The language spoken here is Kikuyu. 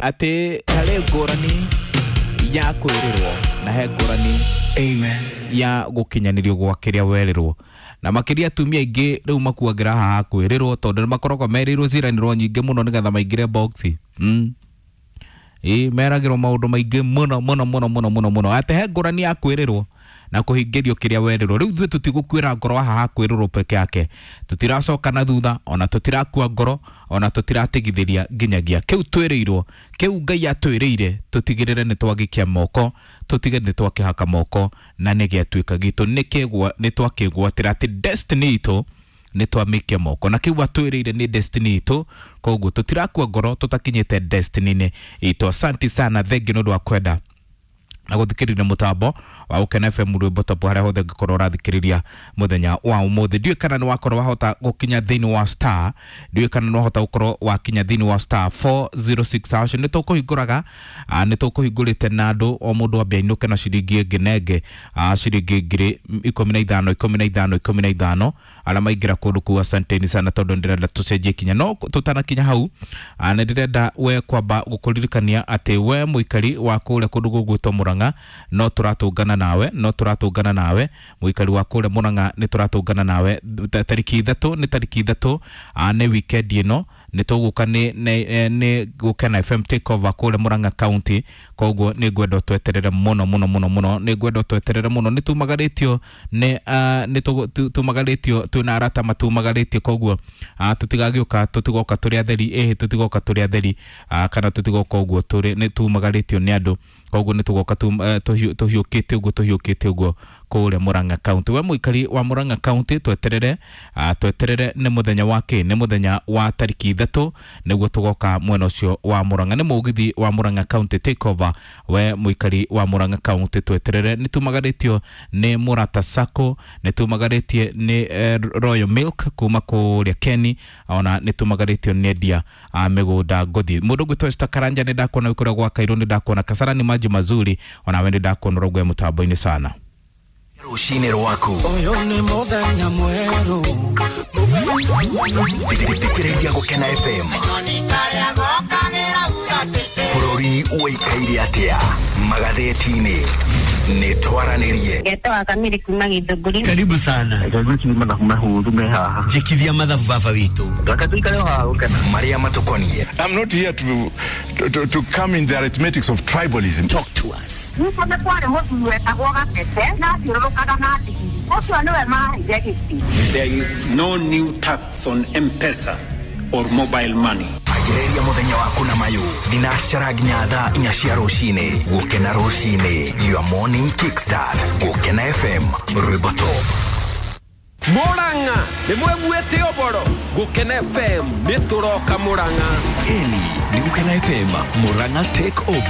Atĩ harĩ ngũrani ya kwĩrĩrwo na he ngũrani Amen. Ya gũkinyanĩrio gwa kĩrĩa werĩrwo, na makĩria atumia aingĩ rĩu makuagĩra haha kwĩrĩrwo tondũ nĩ makoragwo merĩirwo ciĩranĩro nyingĩ mũno nĩgetha maingĩre box. Ĩ meragĩrwo maũndũ maingĩ mũno mũno mũno mũno mũno mũno, atĩ he ngũrani ya kwĩrĩrwo na kũhingĩrio kĩrĩa werĩrwo. Rĩu ithuĩ tũtigũkuĩra ngoro haha kwĩrĩrwo peke yake, tũtiracoka na thutha, ona tũtirakua ngoro, ona tũtiratigithĩria nginyagia kĩu twĩrĩirwo, kĩu Ngai atwĩrĩire, tũtigĩrĩre nĩ twagĩkia moko, tũtige nĩ twakĩhaka moko na nĩ gĩatuĩka gitũ, nĩ twakĩgwatĩra atĩ destiny itũ nĩ twamĩkia moko na kĩu atwĩrĩire nĩ destiny itũ. Koguo tũtirakua ngoro tũtakinyĩte destiny-inĩ itũ. Asanti sana, thengi nĩ ũndũ wa kwenda na gũthikĩrĩria mũtambo wa Gũkena FM, rwĩmbo top, harĩa hothe ũngĩkorwo ũrathikĩrĩria mũthenya wa ũmũthĩ. Ndiũĩ kana nĩ wakorwo wahota gũkinya thĩinĩ wa star, ndiũĩ kana nĩ wahota gũkorwo wakinya thĩinĩ wa *406#. Nĩ tũkũhingũraga, nĩ tũkũhingũrĩte na andũ o mũndũ ambe ainũke na ciringi ĩngĩ na ĩngĩ, ciringi 15,000, 15, 15, arĩa maingĩra kũndũ kũu. Asanteni sana, tondũ ndĩrenda tũcenjie kinya, no tũtanakinya hau, nĩ ndĩrenda we kwamba gũkũririkania atĩ we mũikari wa kũrĩa kũndũ gũgwĩtwo Mũrang'a, no tũratũngana nawe, no tũratũngana nawe, mũikari wa kũrĩa Mũrang'a, nĩ tũratũngana nawe tarĩki 3, nĩ tarĩki 3, nĩ weekend ĩno nĩ tũgũka nĩ Gũkena FM take over kũrĩa Mũrang'a County. Koguo nĩ ngwenda tweterere mũno mũno mũno mũno, nĩ ngwenda tweterere mũno. Nĩ tumagarĩtio nĩ nĩ tumagarĩtio, twĩna arata matumagarĩtie, koguo tũtigagĩũka, tũtigoka tũrĩ atheri, ĩhĩ, tũtigoka tũrĩ atheri, kana tũtigoka ũguo tũrĩ, nĩ tumagarĩtio nĩ andũ. Koguo nĩ tũgoka tũhiũkĩte ũguo, tũhiũkĩte ũguo kũrĩa Mũrang'a County. We mũikari wa Mũrang'a County, tweterere, tweterere. Nĩ mũthenya wa kĩ? Nĩ mũthenya wa tarĩki 3 nĩguo tũgoka mwena ũcio wa Mũrang'a, nĩ mũgithi wa Mũrang'a County take over. We mũikari wa Mũrang'a County, tweterere. Nĩ tumagarĩtio nĩ Mũrata Sacco, nĩ tumagarĩtie nĩ Royal Milk kuma kũrĩa Keni, ona nĩ tumagarĩtio nĩ endia a mĩgũnda ngothi. Mũndũ ũgwĩtwo Esther Karanja, nĩ ndakuona wĩ kũrĩa gwa Kairũ, nĩ ndakuona Kasarani maji mazuri, ona we nĩ ndakuona ũrogwe mũtambo-inĩ sana. Rũcinĩ rwaku. Ũyũ nĩ mũthenya mwerũ. Thikĩrĩria Gũkena FM. Bũrũri ũikaire atĩa magathĩti-inĩ? Nĩ twaranĩrie. Ngetwa Kamiri kuma Githũngũri. Karibu sana. Gwĩciria mathabu mahũthũ me haha. Njĩkithia mathabu, baba witũ. Reke tũikare o haha gũkena. Marĩa matũkoniĩ. I'm not here to come in the arithmetics of tribalism. Talk to us. Gwitũ nĩ kwarĩ mũthuri wetagwo Gatete na athiũrũrũkaga na ndigiri. Ũcio nĩwe maheire gĩtĩ. There is no new tax on M-Pesa or mobile money. Agĩrĩria mũthenya waku na mayũ thinacara nginya thaa 4 cia rũcinĩ. Gũkena rũcinĩ, your morning kickstart. Gũkena FM, rwĩmbo top. Mũrang'a nĩ mweguĩte ũboro Gũkena FM nĩ tũroka Mũrang'a. Ĩni nĩ Gũkena FM Mũrang'a take over.